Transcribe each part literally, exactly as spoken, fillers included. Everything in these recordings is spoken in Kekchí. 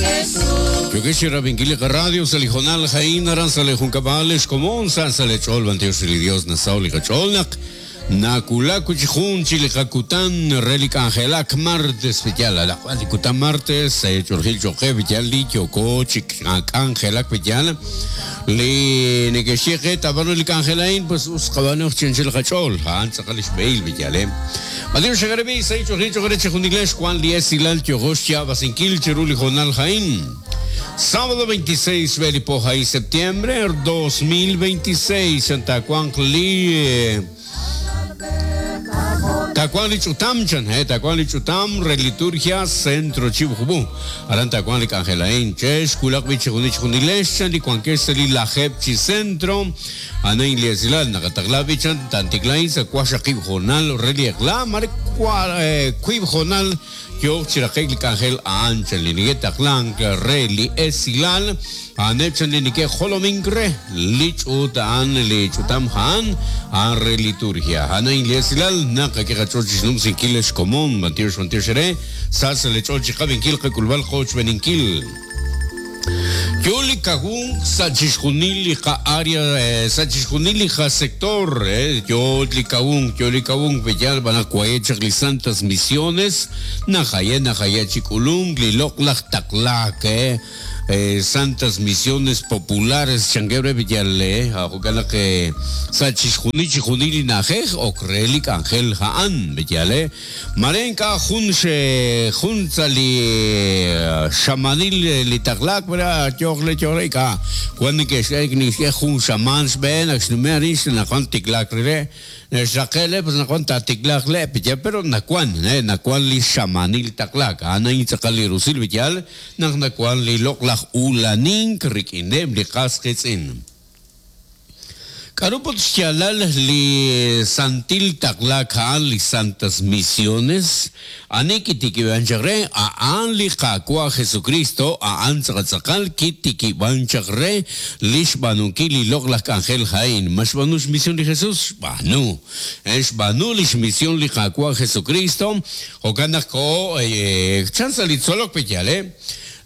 Jesús. Yokesh rabinkil radio sa lijonal jain aran sa lejunkabal xkomon sa sa lechol bantios li Dios nasaw li kacholnak nakulaku chijun chilikakutan relik angelak martes pityal alak kutan martes chorjil choque pityal li yoko chik angelak pityal li nekeshiqe tabano lik angelain pues usqabano chinchil kachol han tzaqalish beil pityal eh Adiós shagarebi say chorjil choque chijuniglesh Juan lies ilal chogoshia basinkil chiruli jonal jain Sábado veintiséis Belipoja y septiembre dos mil veintiséis Santa Juan li Tacuán lichutam chan, eh, tacuán lichutam, reliturgia, centro chibujubu. Aran tacuán lik angelain, chesh, kulak bichejunich junilesh, chan, licuanqueseli la jepchi centro, anain liasilal, nakatakla bichan, tantiklain, sacuasha kibjonal, reliekla, mare kuibjonal, yo chiraqek lik angel aanchan, linigetaklan, reli esilal, anepchan linike jolominkre, lichutan, lichutam han, an reliturgia. Anain liasilal, nakakikachochisnum sinkiles común, bantiosh bantiosh sas lechochi kabinkil kulbal coach beninkil. Yoli kagun sachishkunili ka área sachishkunili ka sector yoli kagun yoli kagun bellal van a cuaye santas misiones najaye najaye chikulung liloklak taklak eh santas misiones populares changuebre villale ajokala que sachishkuni chijunili najej okrelik angel haan villale marenka junche juntzali shamanil litaklak vera yogle yogle cuando que que jun shaman ben axnumeris na kontiklak re Shakele pues na cuanta tiklak le pero na cuan eh na cuan li shamanil taklak ana intzakali rusil villal na na cuan li loklak ulanin krikinem li qasqitzin Karupot xyalal li santil taklak haan li santas misiones ani kitikibanchakre aan li qakwa Jesucristo aan tzaqatzaqal kitikibanchakre lixbanuki li loklak angel jain mashbanush misión li Jesús banu xbanu lix misión li qakwa Jesucristo okanako eh, chanza li tzolok peyale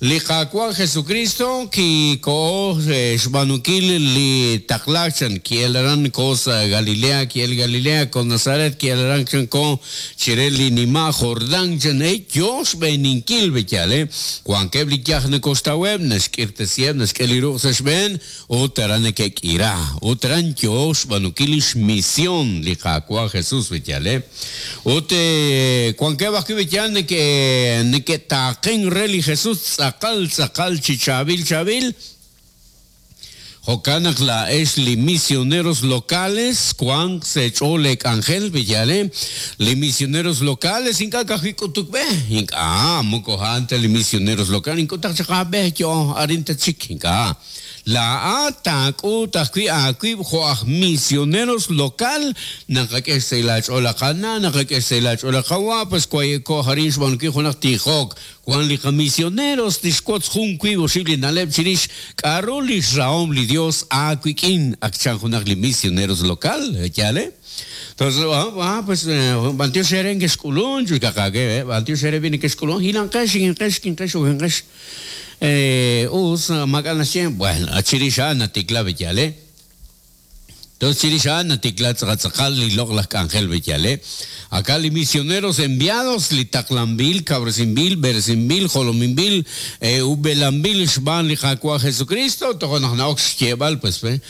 li qakwa Jesucristo ki ko xbanukil li taklachan ki elaran cosa Galilea ki el Galilea con Nazaret ki elaran ko chireli nima Jordán chan e yos beninkil bechale cuan kebli kyahne costa web neskirtesieb neskeliru seshben otaran ke kira otaran yos banukilish misión li qakwa Jesús bechale ote cuan kebak bechale ke ne ke taqen reli Jesús Tzakal, tzakal, chichabil, chabil. Jokanak la es li misioneros locales, Juan Secholek Ángel Villale, li misioneros locales, inka kajikutukbe, inka, ah, mukojante li misioneros locales, inka tachakabe, yo, arinta chik, inka. La atak utakwi akwi joaj misioneros local nakakesela cholakana nakakesela cholakawa pues cuayeko harinsh banki jonak tijok Juan li misioneros tishkots junkwi boshibli naleb chirish karolis raom li Dios akwikin akchan jonak li misioneros local yale. Entonces, ah, pues, bantio seren que esculón, chuicacake, bantio seren viene que esculón, hilankesh, inkesh, kinkesh, ujenkesh. Eh, us, macanasien, bueno, achirisha, natikla, bellale. Entonces, chirisha, natikla, tzakal, li angel, bellale. Acá li misioneros enviados, li taklambil, cabresimbil, bersimbil, jolomimbil, eh, ubelambil, shban, li jacua Jesucristo, tojonajnaox, lleval, pues, eh.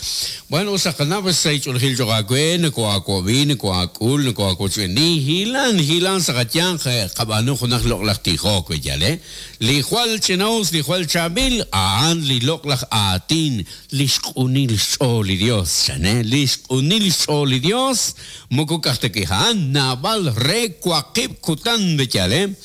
Bueno, usakana, pues, seichulgil, yogakuen, koakuabin, koakul, koakucheni, hilan, hilan, sakatian, kabanu, jonaj, loklaj, tijok, bellale. Li jual chenaus, li jual chabil, aan, li loklaj, atin, li xkunil, xoli Dios, chane, li xkunil, xoli Dios, moko kahtekihan, nabal, re, cuaqib, kutan, bechale.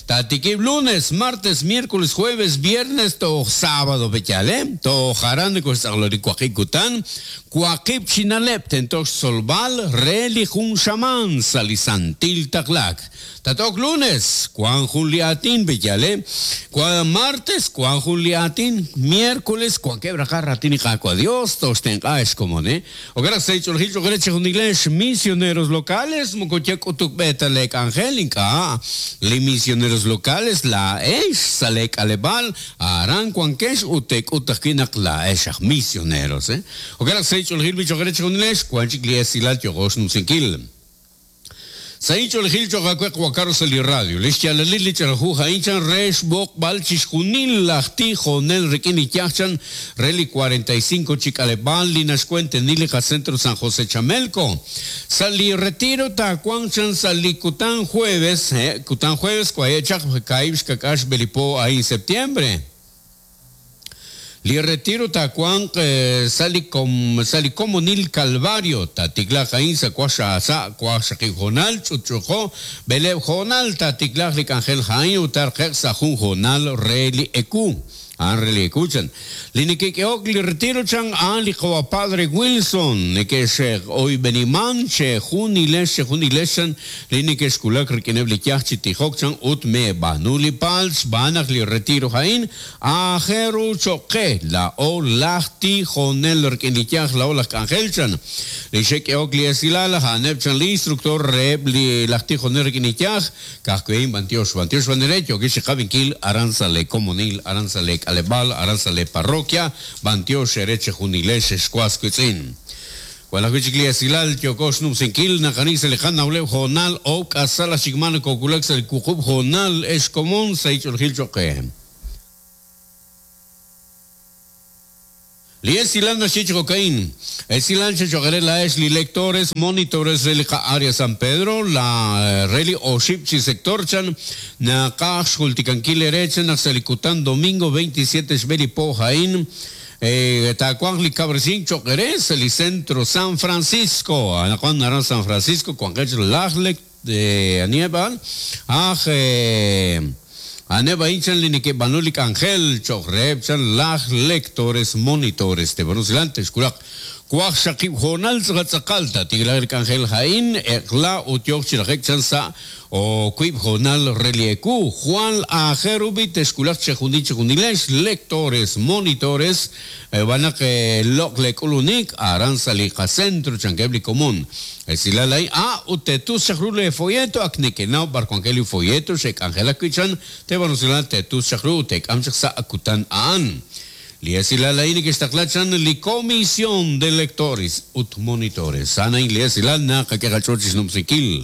Tatikib lunes, martes, miércoles, jueves, viernes, to sábado, bechale. To jaran, cuaqib, kutan. Cuaqib, chinalep, tentok solval, re, lijun shaman, salisantil, taklak. Tatok lunes, cuan juliatin, bechale. Cuan martes, cuan juliatin, miércoles, cuan quebra carratín y jaco a Dios, tosten, ah, es como, ¿eh? O Okaraq seich'olojil cho'q chejunilex misioneros locales moko yak'utuk b'e ta lek'anjel ink'a' li misioneros locales la'ex sa lek'aleb'al aran wankex ut tek'ut ajwi' naq la'ex aj misioneros eh Okaraq seich'olojil bi cho'q chejunilex wan chik li esilal yo'qox numsinkil. Saich'olojil cho'q awe qwakaro sa li radio lix yalalil li ch'araju ha'in rex b'oqb'al chixjunil laj tijonel rik'in li yajchan re li cuarenta y cinco chik'aleb'al li naxkuentenil li qacentro San José Chamelco. Sa li retiro takuanchan sa li kutan jueves, eh, kutan jueves kuayechaq kaib xkakax belipo ahí en septiembre. Li retiro takuan eh, sali com sali comunil Calvario tatiklaj ain sa kuasha sa kuasha jonal chuchujo belev jonal tatiklaj li angel jain utar sa jun jonal reli eku an reli ekuchan li nikekeok li retiro chan an li qawa padre Wilson nikesh hoy beniman che junilesh che junileshan li nikeshkulak rikineb li yach chitijok chan ut me banuli pals banach li retiro jain ajeru choque la o lachti jonel rikin li yach la o lach angel chan li shekeok li esilala haneb chan li instructor reb li lachti jonel rikin li yach kajkuein bantiosh bantiosh banerecho que shekabinkil aranzale comunil aranzale alebal aranzale parroquia bantiosh ereche junilesh escuascuitzin. Cuando esilal yokosh numsinkil naqani selijan nawlew jonal o kasala shigman kokulak sel kuqub jonal es común seichol choque. Li esilan na cocaín. Esilan la es li lectores, monitores relica área San Pedro, la reli oshipchi sector chan, na kax hulticankil erechen, na selikutan domingo veintisiete shbeli po jain, eh, tacuan li cabrecín choqueres, el centro San Francisco, anacuan naran San Francisco, cuan lajlek de Aníbal, aj, eh, Aneba inchan linike banulik angel chochreb chan laj lectores monitores te banusilantes kulak kuaj shakib jonal tzaqalta tiglar angel jain ekla utiok chilajek chan sa o kuib jonal relieku Juan ajerubi teskulak chejuni chejunilesh lectores monitores banak lok lekulunik aranzali centro chanquebli común esilalay a utetu shahrule folleto aknekenao barcuangeli folleto shek angela kuichan te banusilan tetu shahru tek amchak sa akutan aan Liesilalay ni kestaklachan li comisión de lectores ut monitores sana in liesilal na kakekachochis numsikil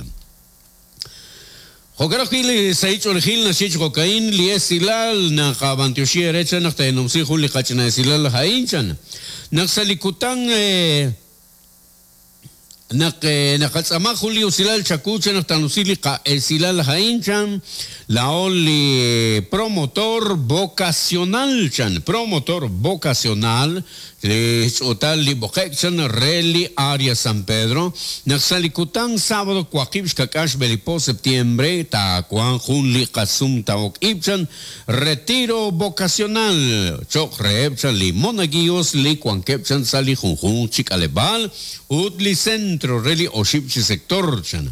Jokarajil saichol gil nasich cocaín liesilal na kabantioshi erecha na tenomsi juli kachna esilal hainchan naxalikutan eh nak nakatzama juli usilal chakucha naktanusili ka esilal hainchan la oli promotor vocacional chan promotor vocacional le otal li bokekchan reli área San Pedro naxalikutan sábado kuakib xkakax belipo septiembre ta kuan jun li kasum taok ipchan retiro vocacional chok rebchan li monaguillos li kuankepchan sali junjun chikalebal ut li centro reli oshipchi sector chan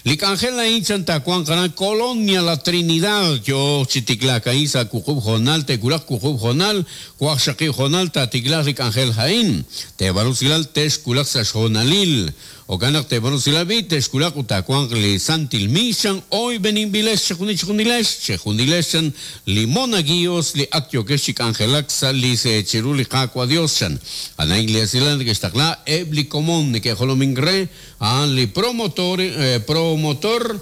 li angela inchan ta kuan kana colonia la Trinidad yo chitiklaka isa kukub jonal te kulak kukub jonal kuak shaqi jonal ta tiklak Ángel Jaín, te barusilal tesh kulak sajonalil, o ganak te barusilabi tesh kulak utakuan li santil mishan, hoy benin biles chejunich juniles, chejunileshan, limonaguios li aktioqueshik angelaksa li se chiruli kakua dioshan, ana iglesilan que estakla ebli común que jolomingre, an li promotor, eh, promotor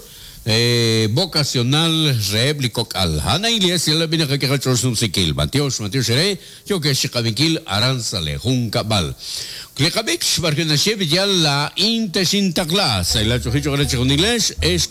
Eh, vocacional reblico al hana iglesia la vina que chosum sikil bantiosh mantiosh re yo que shikabinkil aranzale junkabal klikabix barkena shev ya la intesintagla la chojicho es